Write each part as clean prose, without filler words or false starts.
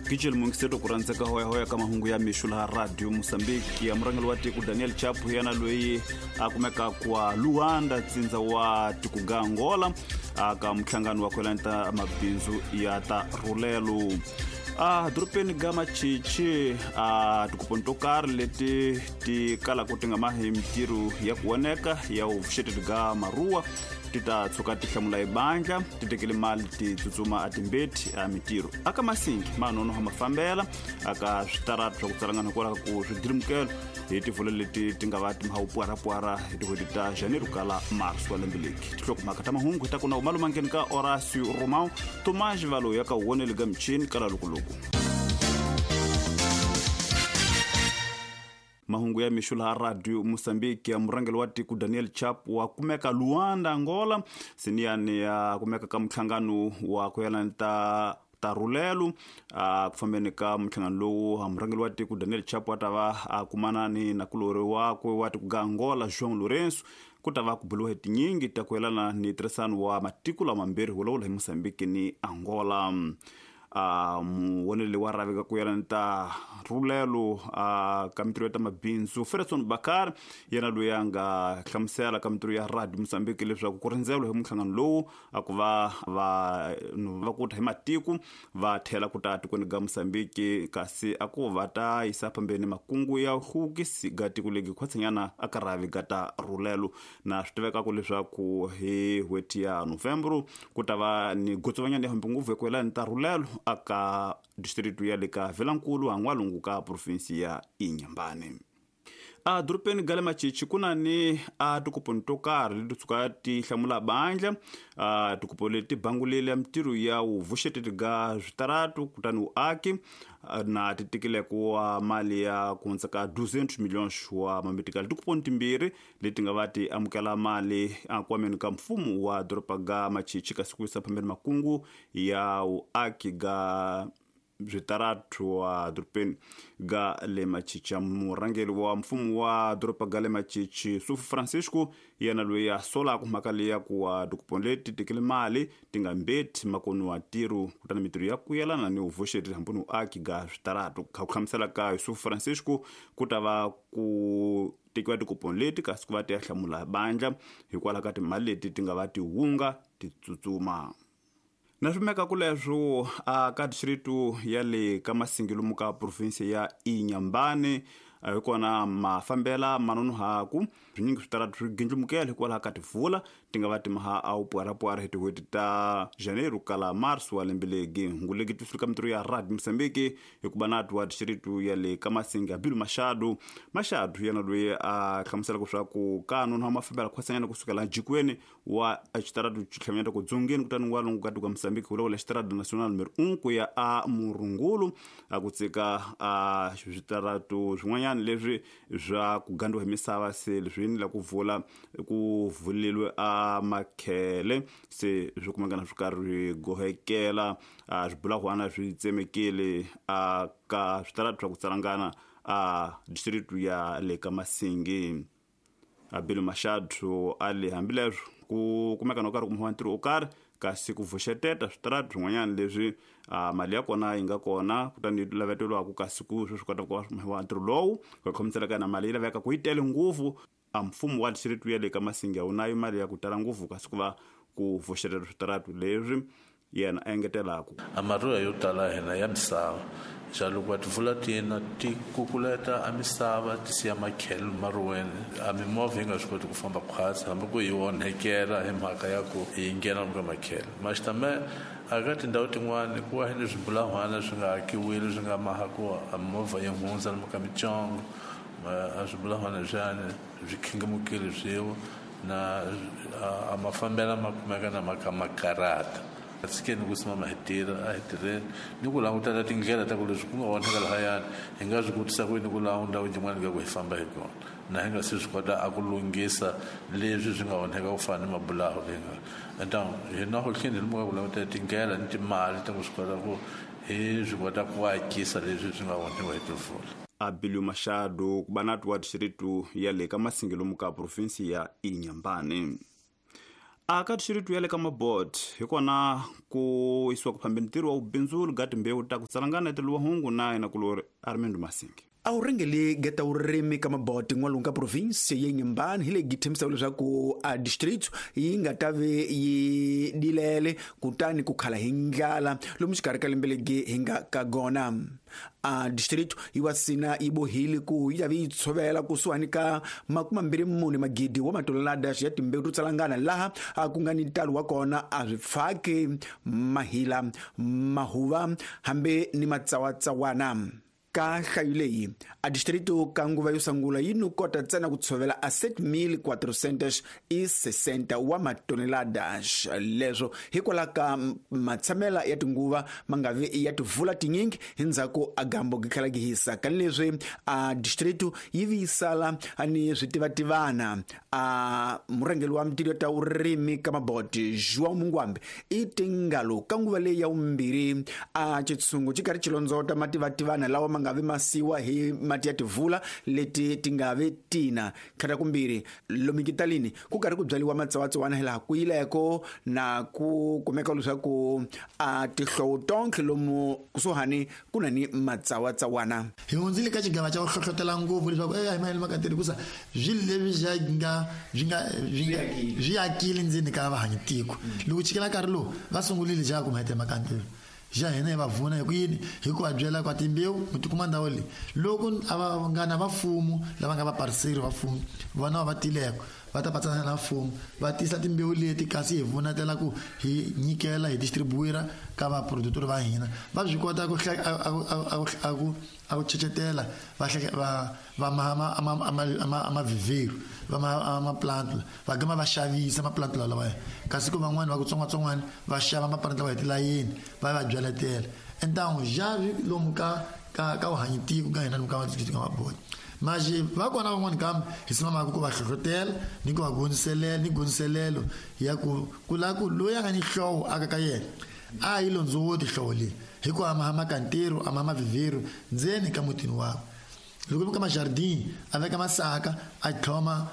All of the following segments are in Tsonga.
Gijel mungiseto ku rhandzeka hoyahoya ka mahungu ya mixo laha Radio Mosambiki ya murhangeri wa tiko Daniel Chapo yena loyi a kumeka kwa Luanda tsindza wa tiko ga Angola aka muhlangano wa kwelani ta mabindzu ya ta rhulelo a dorobeni ga Machichi a tikuponi to karhi leti ti kalaka ti nga mahi mintirho ya ku voneka ya vuxeteti ga maruwa ti ta tshuka ti hlamula ebandla ti tekele mali ti tsutsuma a timbeti a mintirho aka masingi ma nonoha mafambela aka switarata swa ku tsalangana hikwalaho ku swidirimukelo hi tivholo leti ti nga va ti maha pwara hi tin'hweti ta janeiro kala mars wa lembe leki tinhlokomhaka ta mahungu hi ta kuna umalumangeni ka Horacio Romão Tomás Valo ya ka wonele ga michini kala lukuluku. Mahungu ya mixo laha Radio Mosambiki ya murhangeri wa tiko Daniel Chap wa kumeka Luanda Angola siniyani ya kumeka ka muhlangano wa ku yelana ta rhulelo a ku fambeni ka muhlangano lowu murhangeri wa tiko Daniel Chapo a ta va a kumana ni nakulorhi wakwe wa tiko ga Angola João Lourenço ku ta va ku buriwa hi tinyingi ta ku yelana ni ntirhisano wa matiko lamambirhi vulavula hi Mozambique ni Angola. A muwoneli wa rhaveka ku yelana ta rhulelo a ka mintirho ya ta mabindzu Ferguson Bakar yena loyi a nga hlamusela ka mintirho ya Radio Mozambique leswaku ku rindzeriwa hi muhlangano lowu a ku va vanhu va ku ta hi matiko va tlhela ku ta tikweni ga Mozambique kasi a ku va ta yisa phambeni makungu ya hluvukisi ga tiko legi khwatsanyana a ka rhavi ga ta rhulelo na swi tivekaka leswaku hi n'hweti ya Novembro ku ta va ni gotsovanyana ya hambi ngopfu hi ku yelana ta rhulelo aka district ya le ka Vilankulu han'walungu ka provinsi ya Inhambane. A dorobeni ga le Machichi ku na ni a tikuponi to karhi leti tshuka ti hlamula bandla a tikupo leti bangulile mintirho ya vuxeteti ga switaratu kutani vuaki na ti tekile ku wa mali ya ku hundza ka 200 millions wa mamitikali tikuponi timbirhi leti nga va ti amukela mali enkwameni ka mfumo wa doroba ga Machichi kasi ku yisa phambeni makungu ya vuaki ga switaratu wa dorobeni ga le Machichi. Murhangeri wa mfumo wa doroba ga le Machichi Sufu Francisco yena loyi a solaka mhaka leyi ya ku wa tikuponi leti tekele mali ti nga mbeti makoni wa ntirho kutani mintirho ya ku yelana ni vuxeti hambi ni vuaki ga switaratu kha ku hlamusela ka Yusufu Francisco ku ta va ku tekiwa tikuponi leti kasi ku va ti ya hlamula bandla hikwalaho ka timali leti ti nga va ti hunga ti tsutsuma. Na swi meka ku leswo a ka district ya le ka Masingi lomu ka province ya Inhambane hi kona mafambela manonohaku swinyingi switaratu swi gindlumukela hikwalaho ka tivula ti nga va ti maha a wu pwara-pwara hi tin'hweti ta Janeiro kala Mars wa lembe legi hungu legi ti fika mintirho ya Radio Mozambique hikuva na twa district ya le ka Masingi Abilu Machado Machado yena loyi a hlamuselaka leswaku ka nonoha mafambela khwasanyana kusukela jikweni wa xitaratu xitlhamanyana ku dzongeni kutani n'walungu ka tiko ka Mozambique vulavula xitaratu national numero 1 ku ya a Murungulu a ku tsika a switaratu swin'wanyana leswi swa ku gandiwa hi misava se leswi ni la ku vula ku vulelwe a makhele se swi kumekana swi karhi swi gohekela a swibulahwana swi tsemekile a ka switaratu swa ku tsalangana a district ya le ka Masingi. Abilu Machado a le hambileswo ku kumeka no karhi kumiwa ntirho wo karhi kasi ku vuxeteta switaratu swin'wanyana leswi mali ya kona yi nga kona kutani yi laveteriwaka kasi ku sweswi kota ku va ntirho lowu ku khomiselaka na mali yi laveka ku yi tele ngopfu a mfumo wa district ya le ka Masingi a wu nayo mali ya ku tala ngopfu kasi ku va ku vuxeteta switaratu leswi yena a engetelaku. A maruya yo tala hina ya misava xa loko va tivula tina ti kukuleta a misava ti siya makhelo maruweni a mimovha yi nga swi koti ku famba khwatsi hambi ku yi onhekela hi mhaka ya ku yi nghena ka makhelo maxitame a ka tindhawu tin'wani ku wa ni swibulahwana swi nga akiwile swi nga maha ku a mimovha yi hundza lomu ka micongo a swibulahwana leswiyani swi khingamukile swiwa na a mafambela ma kumeka na maka makarata a tshikeni ku simama hi tirha a hi tirheni ni ku langutela tindlela ta ku leswi ku nga onheka lahayani hi nga swi kotisa ku yini ku laha ndhawu yin'wana nga ku hi famba hi kona na hi nga se swi kota a ku lunghisa leswi swi nga onheka ku fana ni mabulahu leyi nga então hina ho tlheni hi lomu ka ku langutela tindlela ni timali ta ku swi kota ku hi swi kota ku akisa leswi swi nga onhiwa hi timpfula. Abilio Machado ku va na twa district ya le ka Masingi lomu ka provinsi ya Inhambane. Aka distrito ya le ka Mabot hi kona ku yisiwa ku phambeni ntirho wa vubindzuli ga timbewu ta ku tsalangana etiluwahungu na yena kulori Armando Masingi. A wu rhengeli geta vurimi ka Maboti n'walungu ka provinsi ya Inhambane hi leyi tshembisaka leswaku a distrito yi nga ta ve yi dilele kutani ku khala hi ndlala lomu xikarhi ka lembe legi hi nga ka gona. A distrito yi wa sina yi bohile ku yi ta ve yi tshovela kusuhani ka 24 magidi wa matolelada ya timbewu to tsalangana laha a ku nga ni ntalo wa kona a swi pfaki mahila mahuva hambi ni matsawatsawana. Ka nhlayo leyi a distrito ka nguva yo sungula yi no kota ntsena ku tshovela a 7460 wa matoneladas leswo hikwalaho ka matshamela ya tinguva ma nga vi ya tivula tinyingi hi ndzhaku a gambo gi tlhela gi hisa ka leswi a distrito yi vuyisala ni switivativana. A murhangeri wa mintirho ta vurimi ka Maboti João Mungwambe i tingalo ka nguva leyi ya vumbirhi a xitshungu xi karhi xi londzota mativativana lawa ma nga vi masiwa hi mati ya tivula leti ti nga vi tina tlhela kumbirhi lomu kitalini ku karhi ku byariwa matsawatsawana hilaha ku yileko na ku kumeka leswaku a tihlovo tonkhe lomu kusuhani ku na ni matsawatsawana. Hi hundzile ka xigava xa ku hlohlotela ngopfu leswaku a hi mahelo makateri hikusa swilo leswi swi akile ndzeni ka vahanyi tiko. Loko chikela nkarhi lowu va sungurile xa ku mahete makantelo xa hina hi va vuna hi ku yini hi ku va byela kwa timbewu mi tikuma ndhawu leyi loko a va nga na vafumo lava nga vapariseri va mfumo vona va tileko va ta patsana na mfumo va tisa timbewu leti kasi hi vunatela ku hi nyikela hi distribuira ka vaproductori va hina va swi kota ku a ku chechetela va va mavhivhero va maplantula va gama va xavisa maplantula lawa kasi ku van'wani va ku tsongwatsongwana va xava maplantula hi tilayeni va va byaletela entangu xavi lomu ka ka ka vuhanyi tiko ka hina lomu ka ka Maboti maxi va kona van'wani kambe hi simamaka ku va hlohlotela ni ku va gondziselela ni gondziselelo ya ku ku lava ku loyi a nga ni hlovo aka ka yena a yi londzowoti hlovo leyi hi ku ama makantero ama mavhivhero ndzeni ka mutini wakwe loko ka majardin a veka masaka a tlhoma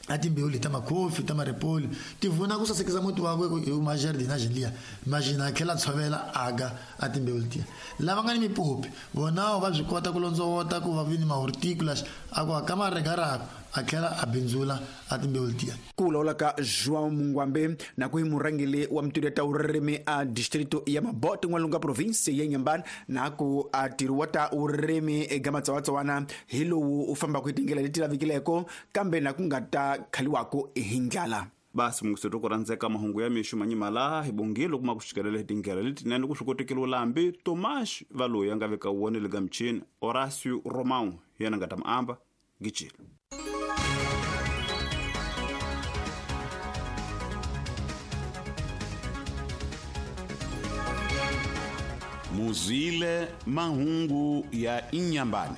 a timbewu leti ta makhofi ta maripoli ti vuna ku sasekisa muti wakwe hi majardin a xinliya majina a tlhela tshovela aga a timbewu letiya lava nga ni mipopi vonawo va swi kota ku londzowota ku va vi ni mahorticulas a ku aka maregarako a tlhela a bindzula a timbewu letiya. Ku vulavula ka João Mungwambe na ku hi murhangeri wa mintirho ta vurimi a distrito ya Mabote n'walungu ka provinsi ya Inhambane na ku a ntirho wa ta vurimi eka matsawatsawana hi lowu u fambaka hi tindlela leti lavekileko kambe na ku nga ta khaliwaka hi ndlala. Basi mungiseto ku rhandzeka mahungu ya mixo manyimala hi bongile kuma ku xikelela hi tindlela letinene ku swi kotekile vulambi Tomas Valoyi a nga veka wona le ka michini Horacio Romão hi yena nga ta mi amba gicile. Muzwile mahungu ya Inhambane.